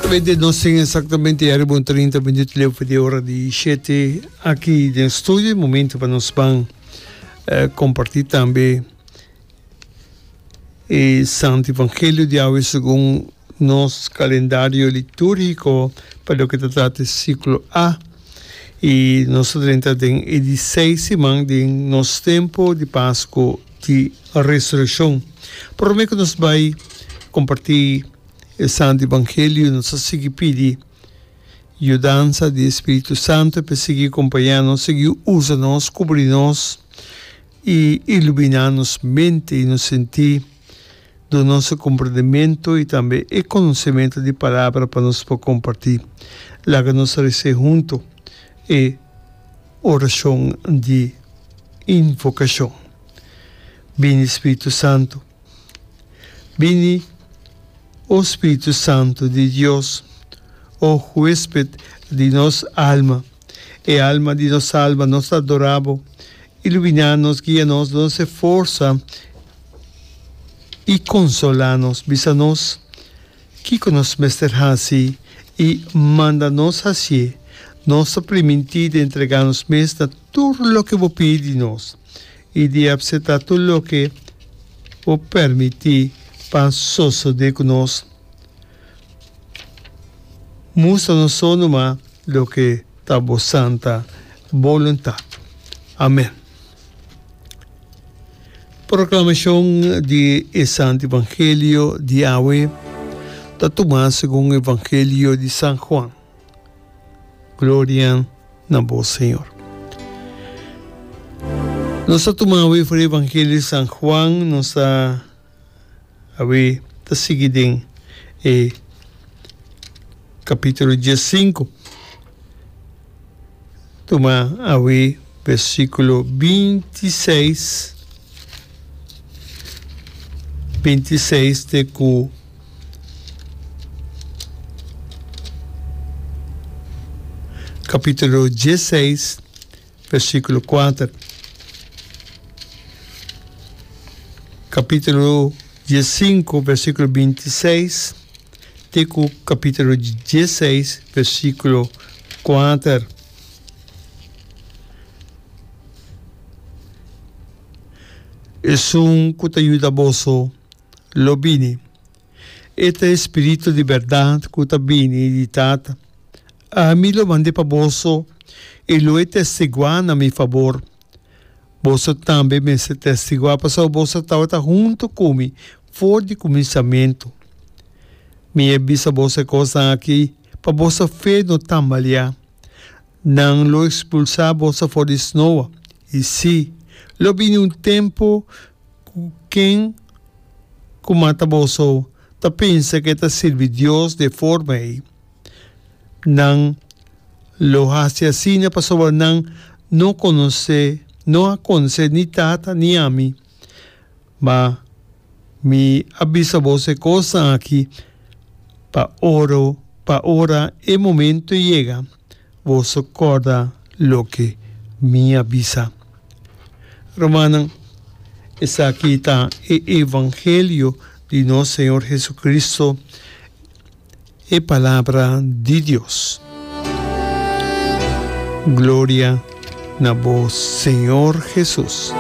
Exactamente nos tin exactamente ya riba un 30 minuut leu for di ora di shete aki den studio. Momento pa nos ban comparti tambe e Santo Evangelio di awe segun nos calendario liturgico pa loke ta trata e ciclo A. Y nos ta drenta den e di seis siman den nos tempo di Pasco di Resureccion. Prome cu nos bay comparti e Santo Evangelio nos ta sigui pidi yudansa di e Spiritu Santo pa e sigui compaña nos, sigui usa nos, cubri nos y ilumina nos mente y nos senti, duna nos e comprendimento y tambe e conocimento di Palabra pa nos por comparti. Laga nos rece hunto e oracion di invocacion. Bini Spiritu Santo. Bini, o Spiritu Santo di Dios, o huesped di nos alma, e alma di nos alma, nos ta adora bo. Iluminá nos, guia nos, duna nos e forsa i konsolá nos. Bisa nos kiko nos mester hasi i manda nos hasié. Nos ta primintí di entregá nos mes na tur loke bo pidi di nos i di apseptá tur loke bo permití pa sosodé ku nos. Mustra nos so numa loke ta bo santa boluntat. Amen. Proklamashon di e Santu Evangelio di awe ta tumá segun Evangelio di San Juan. Gloria na bo, Señor. Nos ta tuma awe for di Evangelio di San Juan, nos ta Awe ta sigui den e capítulo diescinco. Tuma awe versículo bintiseis, bintiseis te cu capítulo diesseis. Versíkulo kuater. Kapítulo diesinku, versíkulo bintiseis te ku kapítulo diesseis, versíkulo kuater. Esun ku ta yuda boso lo bini. E ta e Spiritu di bèrdat ku ta bini di Tata. Ami lo mand'é pa boso i lo e testiguá na mi fabor. Boso tambe mester testiguá pasobra boso tabata huntu ku mi for di kuminsamentu. Mi a bisa boso e kosnan akí pa boso fe no tambaleá. Nan lo ekspulsá boso for di snoa, i sí, lo bini un tempu ku ken ku mata boso ta pensa ku e ta sirbi Dios di e forma ei. Nan lo hasi asina pasobra nan no konosé, no a konosé ni Tata ni ami. Ma mi a bisa boso e kosnan aki pa oro, pa ora e momento yega, boso kòrda loke mi a bisa. Rumannan, esaki ta e evangelio di nos Señor Jesucristo. E Palabra di Dios. Gloria na bo Señor Jesus.